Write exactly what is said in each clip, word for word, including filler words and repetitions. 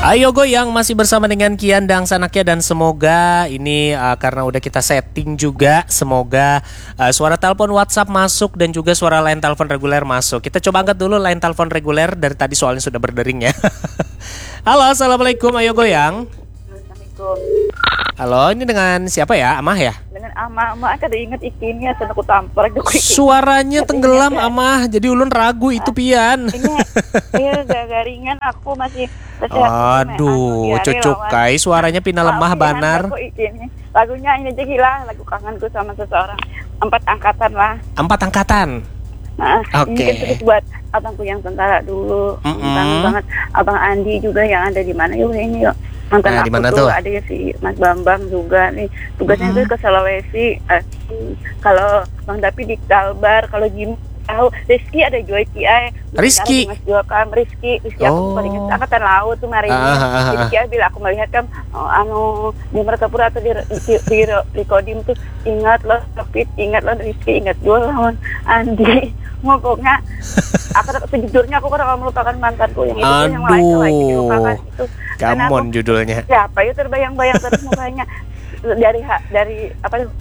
Ayo Goyang masih bersama dengan Kian dan Sanakya, dan semoga ini uh, karena udah kita setting juga, semoga uh, suara telepon WhatsApp masuk dan juga suara line telepon reguler masuk. Kita coba angkat dulu line telepon reguler, dari tadi soalnya sudah berdering ya. Halo, assalamualaikum, Ayo Goyang. Assalamualaikum. Halo, ini dengan siapa ya? Amah ya? Dengan Amah, Amah kada ingat ikinnya, asal aku tampar aku iki. Suaranya tenggelam, Amah. Jadi ulun ragu itu pian. Ini, iya, gagaringan aku masih Aduh, cucuk kai, suaranya pina lemah banar. Lagunya ini aja gila, lagu kangenku sama seseorang. Empat angkatan lah. Empat angkatan. Nah, ini kan khusus buat abangku yang tentara dulu. Mm-mm. Kangen banget abang Andi juga yang ada di mana yuk ini yuk. Mantan aku tuh ada ya si Mas Bambang juga nih. Tugasnya tuh ke Sulawesi. Eh, kalau Bang Dapi di Kalbar, kalau Jim tahu Rizky ada juga Ki ai. Rizky. Mas juga kan Rizky, Rizky aku paling ingat angkatan laut tuh kemarin. Ah, ah, ah, ah. Jadi Ki ai bila aku melihat kan, oh, anu di Martapura atau di di, di, di Kodim tuh ingat loh David, ingat loh Rizky, ingat juga lawan Andi. Pokoknya aku sejujurnya aku kurang melupakan mantanku yang itu tuh, yang lain tuh lagi dilupakan itu. Karena aku, judulnya siapa ya terbayang-bayang terus mukanya dari ha- dari apa tuh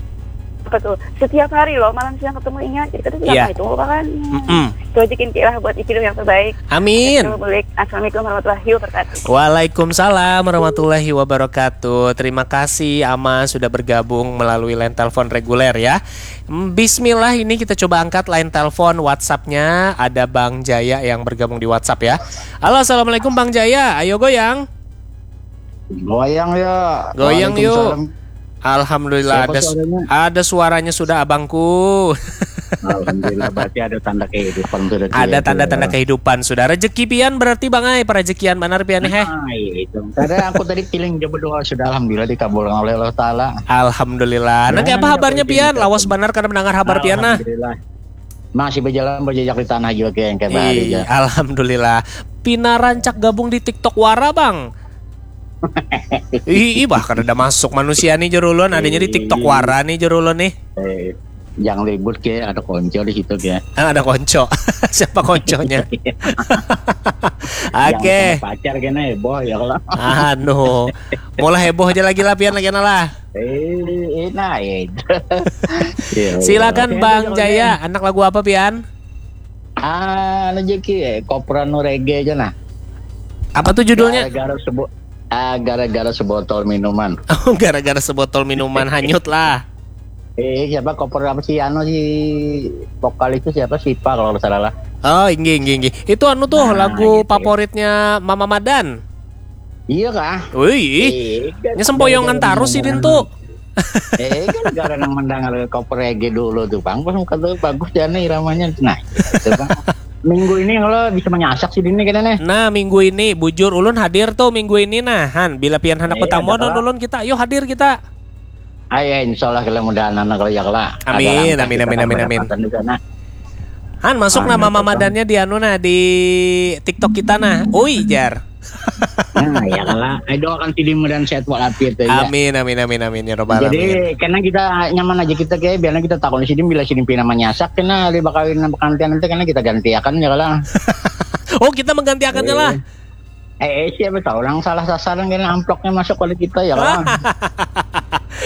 apa tuh setiap hari loh malam siang ketemu ingat, jadi kita tidak pernah itu melupakan. Mm-mm. Itu aja Kinki lah buat Iki dong yang terbaik. Amin. Assalamualaikum warahmatullahi wabarakatuh. Waalaikumsalam warahmatullahi wabarakatuh. Terima kasih Ama sudah bergabung melalui line telepon reguler ya. Mm, Bismillah, ini kita coba angkat line telepon WhatsApp-nya. Ada Bang Jaya yang bergabung di WhatsApp ya. Halo, assalamualaikum Bang Jaya. Ayo Goyang. Goyang ya. Goyang yuk. Waalaikumsalam. Alhamdulillah. Siapa ada suaranya? Ada suaranya sudah abangku. Alhamdulillah, berarti ada tanda kehidupan sudah. Ada tanda-tanda kehidupan sudah. Rezeki pian berarti Bang ai, perezekian banar pian heh. Nah, iya itu. Karena aku tadi piling dia berdoa sudah, alhamdulillah dikabulkan oleh Allah Taala. Alhamdulillah. Nah, apa kabarnya pian? Lawas banar kada mendengar kabar pian nah. Alhamdulillah. Masih berjalan berjejak di tanah juga kayak kayak bahari aja. Alhamdulillah. Pina rancak gabung di TikTok Wara, Bang. Ih, ih, bah kada ada masuk manusia nih jar ulun, adanya di TikTok Wara nih jar ulun nih. Eh, jangan ribut ke, ada konco di situ ke. Ah, ada konco. Siapa konconya? Oke. Pacar kena heboh ya kalau. Anu, mulai heboh aja lagi lah pian lagi lah. Eh, enak ya itu. Silakan Bang Jaya, anak lagu apa pian? Ah, anu Jeki, eh, Kopra nu reggae aja nah. Apa tuh judulnya? Gara-gara sebut ah, gara-gara sebotol minuman. Oh, gara-gara sebotol minuman hanyut lah. Eh, siapa Kopra apa si anu si vokalis itu siapa, Sipa kalau nggak salah lah. Oh, inggih, inggih, inggih. Itu anu tuh lagu favoritnya Mama Madan. Iya kah? Wih, nya sempoyongan tarus sidin tuh. Eh kan karena mendengar Kopra reggae dulu tuh bang, pas muka tuh bagus jana iramanya. Nah, itu bang. Minggu ini kalau bisa menyasak sih dini kita nih. Nah, minggu ini bujur ulun hadir tuh minggu ini nah. Han, bila pian hendak bertamu don ulun kita, yuk hadir kita. Ayo insya Allah kalau mudahan anak kalau ya kalau. Amin, amin, amin, amin, amin. Han, masuk nama mamadannya di anu nah, di TikTok kita nah. Ui jar. Nah, ya kalau. Ayo doakan si Dimu dan sehat walafiat aja. Amin, amin, amin, amin, ya robbal alamin. Jadi karena kita nyaman aja kita kayak biarnya kita takut si Dimu bila si Dimu pina menyasak kena di bakawin pengantin nanti karena kita gantiakan ya kalau. Oh, kita menggantiakannya lah. Eh, eh, siapa tahu orang salah sasaran kena amplopnya masuk oleh kita ya kalau.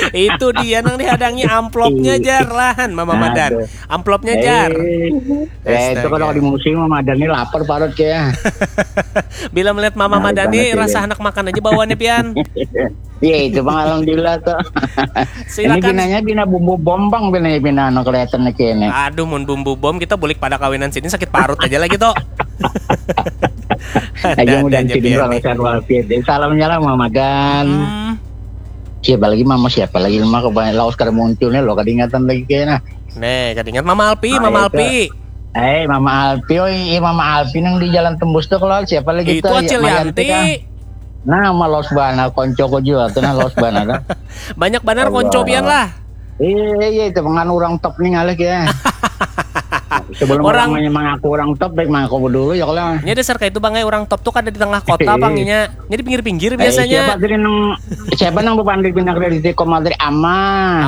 Itu dia nang dihadangi amplopnya jar lah, Han, Mama Madan. Amplopnya jar. Eh, itu kalau di musim Mama Madan ini lapar parut kayak. Bila melihat Mama Madan ini rasa anak makan aja bawaannya pian. Iya itu bang, alhamdulillah tuh. Silakan. Ini pinanya pina bumbu bom bang, pina pina anu kelihatan lagi ini. Aduh, mun bumbu bom kita bulik pada kawinan sini sakit parut aja lagi tuh. Aja mudah sidin kalau sehat walafiat. Salamnya lah Mama Madan. Hmm. Siapa lagi Mama, siapa lagi Mama, kebanyakan lawas kada muncul nih lo, kada ingatan lagi kayaknya. Nih, kada ingat Mama Alpi, Mama Alpi. Eh, Mama Alpi, oi, iya, Mama Alpi nang di Jalan Tembus tuh kalau siapa lagi itu tuh? Acil Yanti. Nah, malos banar konco ko jua tuh nah, los banar dah. Banyak banar konco pian lah. Iya, iya, itu pengan orang top nih ngalih ya. Sebelum Orang- orang, mengaku orang top, baik mengaku dulu ya kalau. Nya dasar kayak itu bang, eh, orang top tuh kada di tengah kota bang, nya nya di pinggir-pinggir Eh, biasanya. Siapa tadi nang siapa nang bepandir pindah kredit koma tadi? Ama.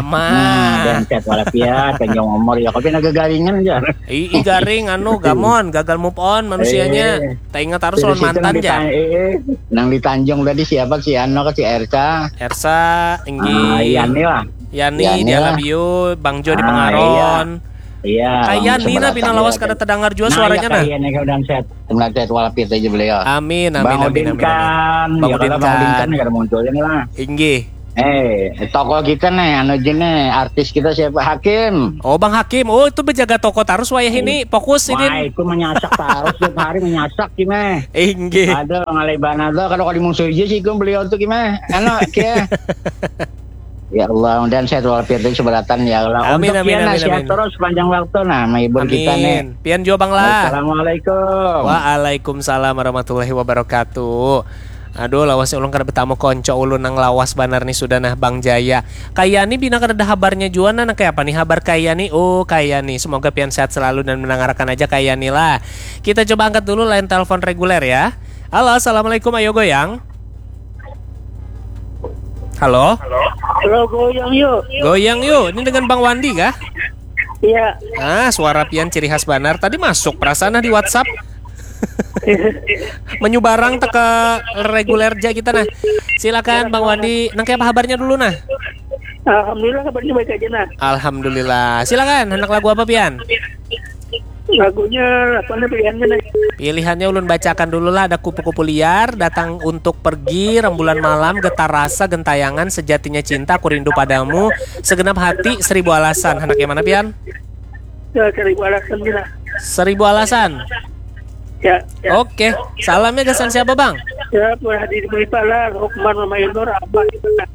Ama. Nah, dan sehat walafiat, panjang umur ya, tapi naga garingan aja. Ih, ih, garing anu gamon, gagal move on manusianya. Eh. Tak ingat harus Dari lawan situ mantan nang ya. ditan- eh, eh, nang di Tanjung tadi siapa, si Ano ke si Ersa? Ersa, Ah, Inggi, Yani lah. Yani, Yani dia lah. love you, Bang Jo Ah, dipengaron. Iya. Kayak Langsung Nina berarti bina ya. lawas kada terdengar juga suaranya nah. Kayak ini udah sehat, udah sehat walafiat aja beliau. Amin, amin, Bang amin, Udin amin, kan, amin. Bang ya Udin kalau Bang Udin kan. Kan nggak ada muncul ini lah. Inggih. Eh, toko kita nih, anu je nih, artis kita siapa? Hakim. Oh, Bang Hakim. Oh, itu berjaga toko terus wayah ini. Fokus ini. Wah, itu menyasak terus tiap hari menyasak gimana? Inggih. Aduh, ngalai banget tuh kalau kalau dimusuhi aja sih beliau tuh gimana? Anu, kia. Ya Allah, dan sehat walafiat itu seberatan ya Allah. Amin, Untuk amin, Kiana amin, sehat amin. Terus panjang waktu nah, menghibur kita nih. Amin. Pian jua bang lah. Assalamualaikum. Waalaikumsalam warahmatullahi wabarakatuh. Aduh, lawas ulun kada bertamu konco ulun nang lawas banar nih sudah nah Bang Jaya. Kayani bina kada ada habarnya jua nah, nang kaya apa nih habar Kayani? Oh, Kayani. Semoga pian sehat selalu dan mendengarkan aja Kayani lah. Kita coba angkat dulu line telepon reguler ya. Halo, assalamualaikum, ayo goyang. Halo. Halo, goyang yuk. Goyang yuk. Ini dengan Bang Wandi kah? Iya. Ah, suara pian ciri khas banar. Tadi masuk perasaan nah di WhatsApp. Menyubarang teka reguler aja kita nah. Silakan Bang Wandi, nang kayak apa habarnya dulu nah? Alhamdulillah kabarnya baik aja nah. Alhamdulillah. Silakan, anak lagu apa pian? Lagunya apa nih pilihannya nih? Pilihannya ulun bacakan dulu lah, ada kupu-kupu liar datang untuk pergi, rembulan malam, getar rasa, gentayangan, sejatinya cinta, aku rindu padamu, segenap hati, seribu alasan. Anak yang mana pian? Ya, seribu alasan kita. Seribu alasan. Ya, ya. Oke, salamnya gasan siapa bang? Ya, buat hadir di Bali Pala, Lukman, Mama Ilnur, Abah, gitu. Nah,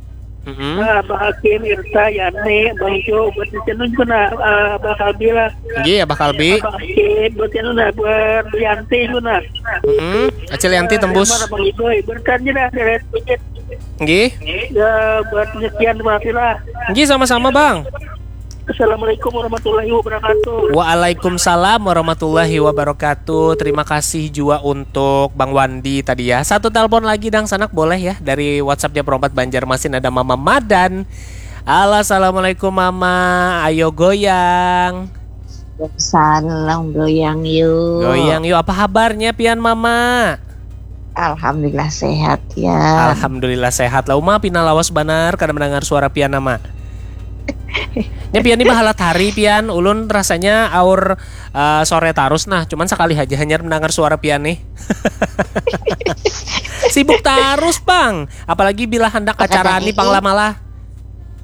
Mm-mm. Abah Hakim, Irta, Yani, Bang Jo, buat Cenun juga nah, eh, Abah Kalbi lah. Nggih, Abah Kalbi. Abah Hakim, buat Cenun nah, buat Yanti juga nah. Mm-mm. Acil Yanti tembus. Mana Bang Iboy, berkan aja dah, deret sedikit. Nggih. Ya, buat penyekian, terima kasih lah. Nggih, sama-sama bang. Assalamualaikum warahmatullahi wabarakatuh. Waalaikumsalam warahmatullahi wabarakatuh. Terima kasih juga untuk Bang Wandi tadi ya. Satu telepon lagi dang sanak boleh ya, dari WhatsApp Japper Opat Banjarmasin, ada Mama Madan. Halo, assalamualaikum Mama. Ayo goyang. Salam goyang yuk. Goyang yuk. Apa habarnya pian Mama? Alhamdulillah sehat ya. Alhamdulillah sehat lah. Uma pina lawas banar kada mendengar suara pian nama. Nya pian ni bahalat hari pian, ulun rasanya aur eh, sore tarus nah, cuman sekali aja hanyar mendengar suara pian nih. Sibuk tarus bang, apalagi bila hendak acara ni pang lama lah.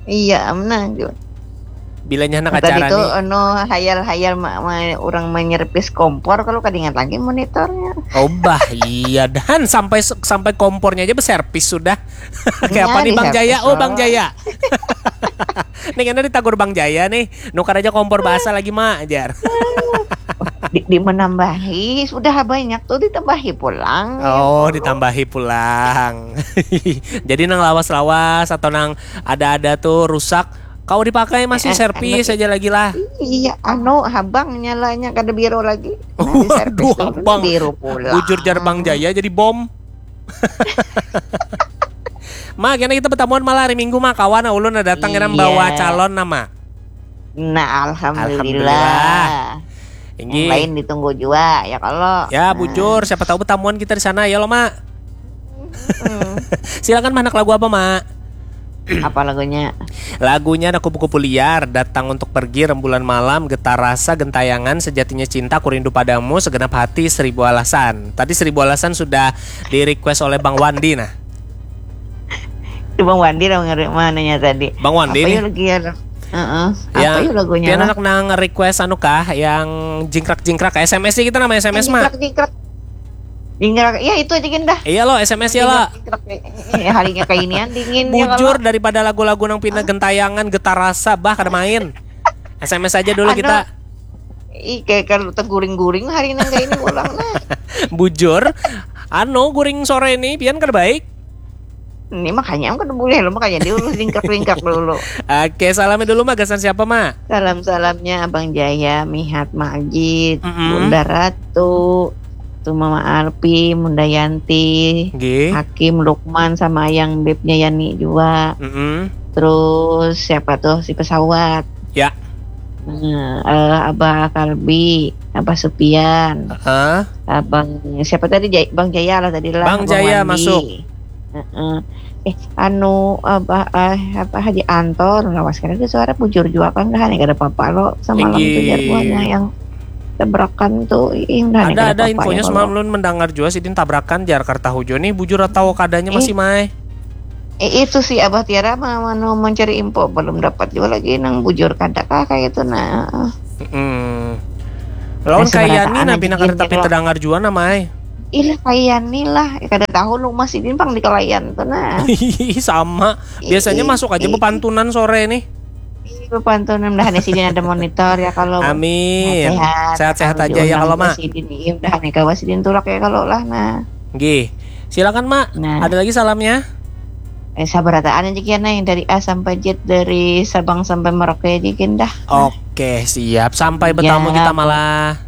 Iya, menang juga. Bilanya hendak Tadi acara tuh nih. Ono hayal-hayal ma- ma- orang menyerpis kompor kalau kada ingat lagi monitornya. Oh bah iya dan sampai sampai kompornya aja berserpis sudah. Kayak apa Iya, nih Bang Jaya? diserpis Oh Bang doang. Jaya. Nih karena ditagur Bang Jaya nih, nukar aja kompor basah lagi mak ajar. Di, di menambahi sudah banyak tuh ditambahi pulang. Oh ditambahi pulang. Jadi nang lawas-lawas atau nang ada-ada tuh rusak, kau dipakai masih Eh, servis anu, aja lagi lah. Iya, anu habang nyalanya kada biru lagi. Nah, Waduh, diserpis dulu, habang. Biru pulang. Bujur jar Bang Jaya jadi bom. Ma, kena kita bertamuan malah hari Minggu mah kawan ulun ada datang kena Iya. bawa calon nama. Nah, alhamdulillah. Alhamdulillah. Yang Inggih. Lain ditunggu juga ya kalau. Ya, Nah, bujur siapa tahu bertamuan kita di sana ya lo, Mak. hmm. Silakan mah anak lagu apa, Mak? Apa lagunya? Lagunya ada kupu-kupu liar, datang untuk pergi, rembulan malam, getar rasa, gentayangan, sejatinya cinta, ku rindu padamu, segenap hati, seribu alasan. Tadi seribu alasan sudah di request oleh Bang Wandi nah. Itu Bang Wandi lah ngeri- mananya tadi. Bang Wandi Apa nih. Ya lagi ya? Heeh. Apa Yang ya lagunya? pian Lah? Anak nang request anu kah yang jingkrak-jingkrak S M S sih kita nama S M S mah. Jingkrak, jingkrak. Jingkrak. Ya itu aja gin dah. Iya lo S M S ya lo. Jingkrak, jingkrak. Eh, harinya kayak ini dingin ya Bujur kalau. Daripada lagu-lagu nang pina gentayangan getar rasa bah kada main. S M S aja dulu Anu, kita. Ih, kayak kalau terguring-guring hari nang kayak ini pulang nah. Bujur. Anu guring sore ini pian kada baik. Ini makanya kan boleh lo, makanya diurus lingkrak-lingkrak dulu. Oke, salamnya dulu, Ma, gasan siapa, Ma? Salam-salamnya Abang Jaya, Mihat, Majid, Mm-mm. Bunda Ratu, tuh Mama Arpi, Bunda Yanti, Nggih. Hakim, Lukman, sama yang bebnya Yani juga. Mm-mm. Terus siapa tuh, si pesawat? Ya. Nah, eh, Abah Kalbi, Abah Supian, Heeh. Abang siapa tadi, Jay- Bang Jaya lah tadi lah. Bang Abang Jaya Wandi. Masuk. Heeh. Eh, anu, Abah, eh, apa, Haji Anton, lawas kena dia suara, bujur jua kan dah, nih kada apa-apa lo, semalam tuh Inggih. jagoannya yang tabrakan tuh, ih, udah, nih, Ada kada ada apa-apa infonya ya, semalam kalau. Lun mendengar juga sidin tabrakan jar, kada tahu jua nih bujur atau kadanya Eh. masih, Mai. Eh, itu si Abah Tiara ma- manu mencari info, belum dapat juga lagi nang bujur kada kah kayak itu, nah. Mm-mm. Lawan Nah, kayak seberataan ni nah aja pina gin, kada tapi kalau- terdengar jua nah, Mai. Ilah, kayak ni lah. Eh, kada tahu lu masih dimpang di kalayan tuh, nah. Ih, sama. Biasanya Ih, masuk aja ih. Bepantunan sore nih. Ih, bepantunan dah, nih sidin ada monitor ya kalau. Amin. Sehat-sehat. Sehat-sehat Kalau aja ya, diundang kalau, juga Ma. Sidin, iya, udah nih kawa sidin tulak ya kalau lah, nah. Nggih. Silakan, Ma. Nah. Ada lagi salamnya? Eh, sabarataan aja kian, nah, yang dari A sampai Z, dari Sabang sampai Merauke aja kian dah. Oke, siap. Sampai Ya, bertamu kita Bu. Malah.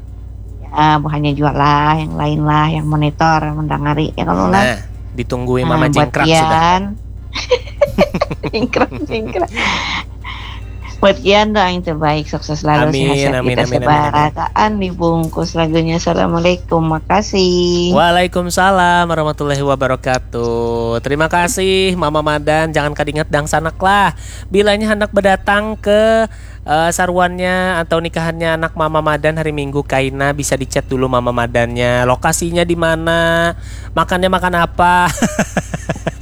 Ya, bukannya juga lah, yang lain lah, yang monitor, yang mendengari ya kalau lah. Nah, ditungguin Nah, Mama buat Jingkrak sudah. Kian. Jingkrak, jingkrak. Buat kian doa yang terbaik, sukses selalu, Amin, sehat-sehat amin, kita amin, amin, sebarataan, dibungkus lagunya. Assalamualaikum, makasih. Waalaikumsalam warahmatullahi wabarakatuh. Terima kasih Mama Madan. Jangan kadingat dangsanak lah. Bilanya hendak berdatang ke eh, saruannya atau nikahannya anak Mama Madan hari Minggu kaina, bisa dicat dulu Mama Madannya. Lokasinya di mana? Makannya makan apa?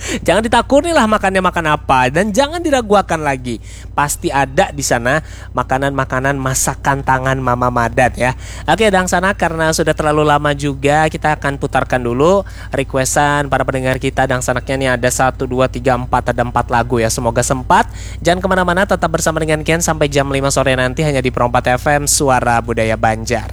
Jangan ditakuni lah makannya makan apa, dan jangan diraguakan lagi. Pasti ada di sana makanan-makanan masakan tangan Mama Madan ya. Oke, dangsanak, karena sudah terlalu lama juga, kita akan putarkan dulu requestan para pendengar kita. Dangsanaknya nih ada satu, dua, tiga, empat, ada empat lagu ya. Semoga sempat. Jangan kemana-mana, tetap bersama dengan Ken sampai jam lima sore nanti hanya di Pro empat F M, Suara Budaya Banjar.